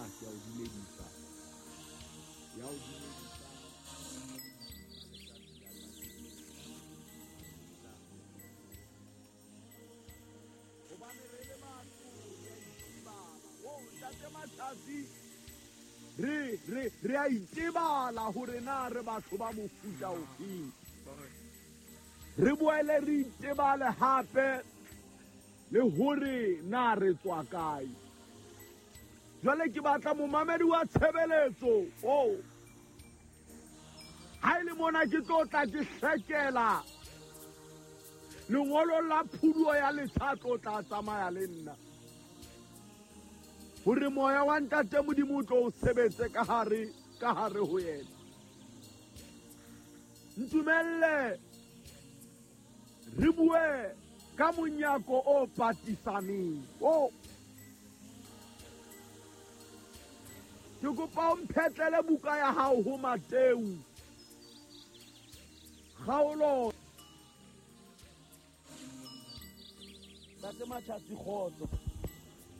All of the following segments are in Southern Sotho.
Ke a o dumedisa. Ya o dumedisa. Hobane re le batho re a itebala. O ntate Matsatsi, re a itebala hore na re batho ba mofuta ofeng. Re boele re itebale hape le hore na re tswa kae. Jwale ke batla momamedi wa tshebeletso o ha e le mona ke tlo tla ke hlekela lengolo la phuduo ya letsha tlo tla tsamaya le nna hore moya wa ntate Modimo o tlo o sebetse ka hare ho yena. Ntumelle re bue ka monyako o patisaneng o. Ke kopa o mphetlele buka ya hao ho Mateu kgaolo. Ntate Matsatsi, kgotso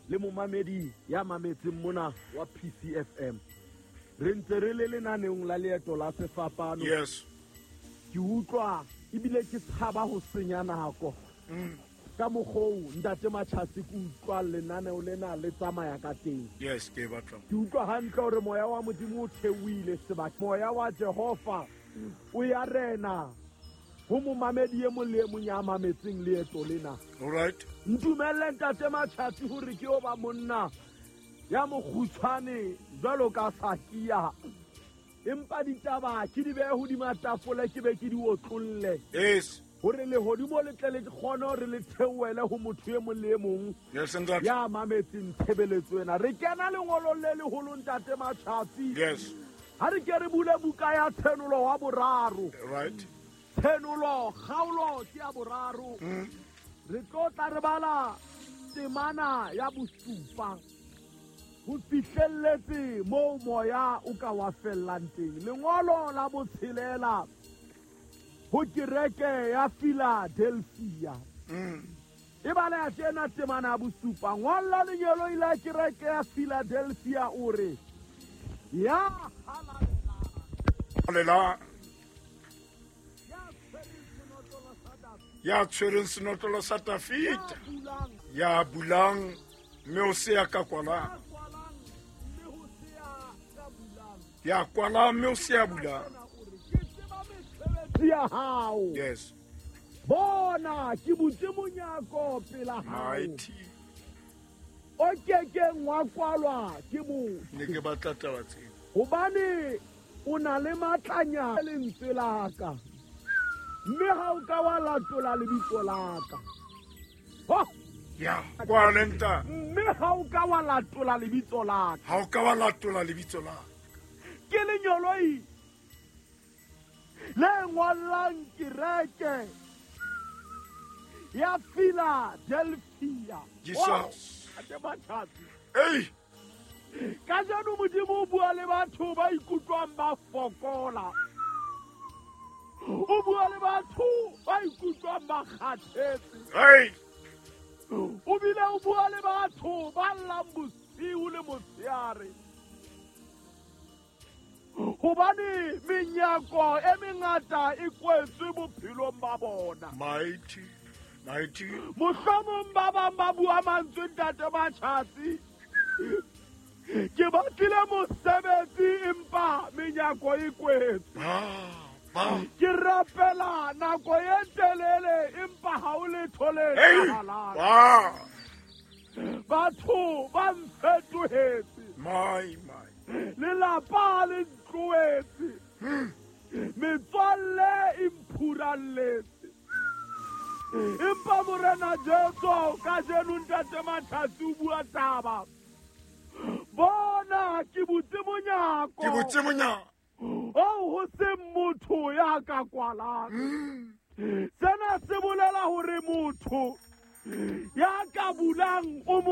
le momamedi ya mametseng mona wa PCFM. Re ntse re le lenaneong la leeto la sefapano. Yes. Ke utlwa ebile ke tshaba ho senya nako. Ka mokgoo ntate Matsatsi ke utlwa lenaneo lena le tsamaya ka teng. Yes, ke batla. Ke utlwa hantle hore moya wa Modimo o theohile sebaka. Moya wa Jehova o ya rena ho momamedi e mong le e mong ya mametseng leeto lena. All right. Ntumelle ntate Matsatsi hore ke o ba monna ya mokgutshwane jwalo ka Sakia. Empa ditaba ke di behe hodima tafole ke be ke di otlolle. Yes. Hore lehodimo le tle le kgone hore le theohele ho motho e mong le e mong. Yes, ntate. Ya mametseng tshebeletso ena. Re kena lengolong le leholo ntate Matsatsi. Yes. Ha re ke re bule buka ya Tshenolo wa boraro. Right. Tshenolo kgaolo ke ya boraro. Re tlo tla re bala temana ya bosupa ho fihlelletse moo moya o ka wa fellang teng. Lengolo la botshelela ho kereke ya Philadelphia. E bala ya tjena temana ya bosupa. Ngolla lengeloi la kereke ya Philadelphia o re, ya halalelang, ya tshwereng senotlolo sa Dafita, ya bulang mme o se ya ka kwalang, ya kwalang mme o se ya bulang. Ya hao. Yes. Bona ke butse monyako pela hao. Mighty. O kekeng wa kwalwa ke motho. Ne ke batla taba tseo. Hobane o na le matlanya lentswe la ka. Mme ha o ka wa latola lebitso la ka. Ho! Ya, kwalenta. Mme ha o ka wa latola lebitso la ka. Ha o ka wa latola lebitso la ka. Ke lenyoloi le ngollang kereke ya Philadelphia. Jesus. Ate Matsatsi. Ei! Kajeno Modimo o bua le batho ba ikutlwang ba fokola. O bua le batho ba ikutlwang ba kgathetse. Ei! O bile o bua le batho ba llang bosiu le motshehare. Hobane menyako e mengata e kwetswe bophelong ba bona. Mighty, mighty. Mohlomong ba bang ba bua mantswe ntate Matsatsi. Ke batlile mosebetsi empa menyako e kwetswe. Ke rapela nako e telele empa ha o letho le etsahalang. Batho ba mfetohetse. My, my. Lelapa le ntlohetse. Metswalle e mphuralletse. Empa Morena Jesu kajeno ntate Matsatsi o bua taba. Bona ke butse monyako. Ke butse monyako. O ho se motho ya ka kwalang. Sena se bolela hore motho ya ka bulang o mo